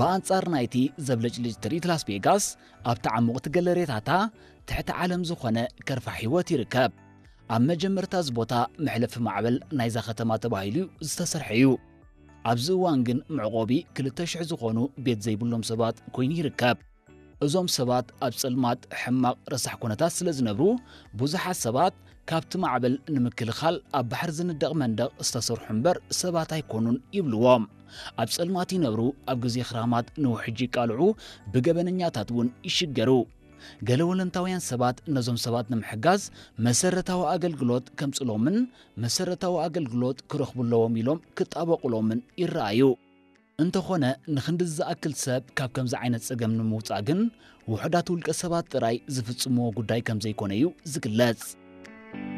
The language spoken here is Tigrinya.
ብኣንጻር ናይቲ ዘብለጭልጭ ትርኢት ላስ ቬጋስ፣ ኣብቲ ዓሙቕቲ ገለሬታታ ትሕቲ ዓለም ዝኾነ ከርፋ ህይወት ይርከብ። ኣብ መጀመርታ እዚ ቦታ መሕለፊ ማዕበል ናይዛ ከተማ ተባሂሉ ዝተሰርሐ እዩ። ኣብዚ እዋን ግን መዕቆቢ ክልተ ሽሕ ዝኾኑ ቤት ዘይብሎም ሰባት ኮይኑ ይርከብ። እዞም ሰባት ኣብ ጸልማት ሕማቕ ረሳሕ ኩነታት ስለ ዝነብሩ፣ ብዙሓት ሰባት ካብቲ ማዕበል ንምክልኻል ኣብ ባሕሪ ዝንደቕ መንደቕ ዝተሰርሑ እምበር ሰባት ኣይኮኑን ይብልዎም። ኣብ ጸልማት ይነብሩ፣ ኣብ ግዜ ክራማት ንውሕጅ ይቃልዑ፣ ብገበነኛታት እውን ይሽገሩ። ገለ ወለንታውያን ሰባት ነዞም ሰባት ንምሕጋዝ መሰረታዊ ኣገልግሎት ከምጽሎምን መሰረታዊ ኣገልግሎት ክረኽቡ ኣለዎም ኢሎም ክጣበቑሎምን ይረኣዩ። እንተኾነ ንኽንዲ ዝኣክል ሰብ ካብ ከምዚ ዓይነት ጸገም ንምውጻእ ግን ውሑዳት ውልቀ ሰባት ጥራይ ዝፍጽምዎ ጉዳይ ከም ዘይኮነ እዩ ዝግለጽ።